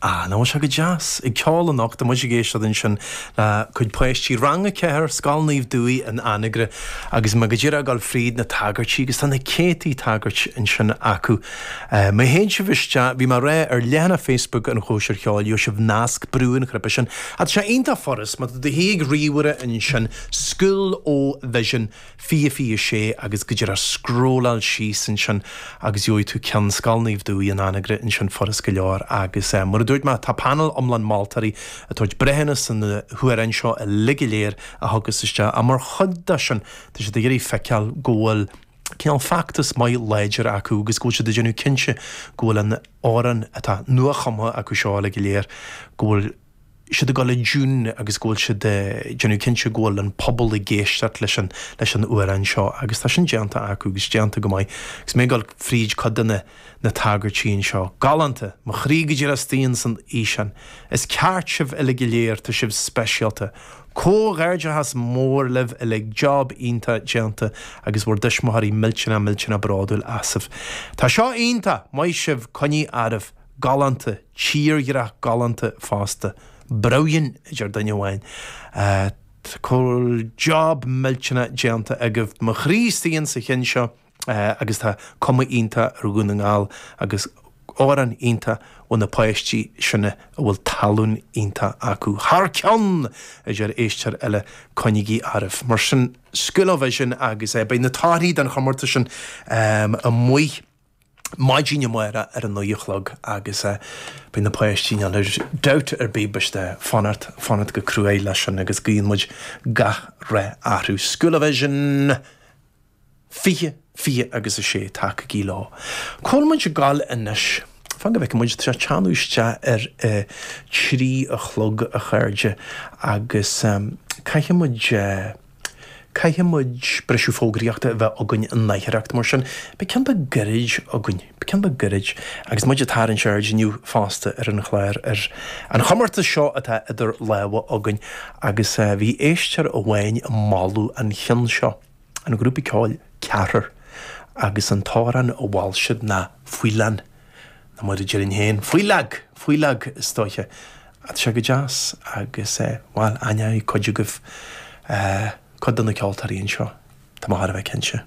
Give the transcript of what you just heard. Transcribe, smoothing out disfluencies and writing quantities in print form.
Ah, nach bhfuil sé go deas? Ag ceol anocht, tá muid ag éisteacht ansin le cuid páistí Rang 4, Scoil Naomh Dubhaigh in Anagaire agus mé go díreach ag dul fríd na tagairtí agus tá na céadtaí tagairt ansin acu. Má théann sibh isteach, bhí mé a rá ar leathanach Facebook an Chóisir Cheoil, gheobhaidh sibh nasc, brú an chnaipe sin. Ach tá sé iontach furast, má tá do shuí ag ríomhaire ansin, School O Vision, 2026 agus go díreach scrolláil síos ansin agus gheobhaidh tú ceann Scoil Naomh Dubhaigh in Anagaire ansin furast go leor agus mar a dúirt mé tá panel iomlán moltóirí ag tabhairt breithiúnas ar na hamhráin seo uilig go léir a thiocfas isteach ach mar chuid de sin tá siad ag iarraidh feiceáil go bhfuil cineál feachtas maith láidir acu agus go bhfuil siad ag déanamh cinnte go bhfuil an amhrán atá nuachumtha acu seo uilig go léir go bhfuil siad ag dul i dtiún agus go bhfuil siad ag déanamh cinnte go bhfuil an pobal ag éisteacht leis an leis an amhrán seo agus tá sin déanta acu agus déanta go maith. Agus mé ag dul fríd cuid de na na tagairtí anseo. Galánta! Mo chroí go díreach istigh ins an fhíseán. Is ceart sibh uilig go léir, tá sibh speisialta. Comhghairdeachas mór libh uilig, job iontach déanta agus bhur dtuismitheoirí millteanach millteanach bródúil asaibh. Tá seo iontach! Maith sibh, coinnigh oraibh! Galánta, tírdhreach galánta fosta. Brilliant, a deir duine amháin. Tá job millteanach déanta agaibh. Mo chroí istigh insa chinn seo agus tá cuma iontach ar Dhún na nGall agus amhrán iontach ó na páistí sin a bhfuil tallann iontach acu. Thar cionn! a deir éisteoir eile, coinnígí oraibh. Mar sin, School O Vision agus beidh na torthaí den chomórtas sin amuigh. maidin amárach ar a 9 a chlog agus beidh na páistí níl dabht ar bith beidh siad ag fanacht, fanacht go cruaidh leis sin agus guíonn muid gach rath orthu. School O Vision 20, 20 agus 6 tacaigí leo. Cá bhfuil muid ag gabháil anois? Fan go bhfeicfidh muid, tá sé ag teannadh isteach ar a 3 a chlog a chairde agus caithfidh muid Caithfidh muid briseadh fógraíochta a bheith againn i ndáiríreacht, mar sin beidh ceann beag gairid againn, beidh ceann beag gairid, agus muid ag tarraingt aird inniu fosta ar an chlár ar an chomórtas seo atá idir lámha againn agus bhí éisteoir amháin ag moladh an chinn seo, an grúpa ceoil Ceathrar agus an t-amhrán a mhol siad ná Faoileán. Nó mar a déarfainn féin, Faoileag! Faoileag, is dóiche. Tá sé go deas agus, bhuel, aithneoidh cuid agaibh cuid de na ceoltóirí anseo, tá mé thar a bheith cinnte.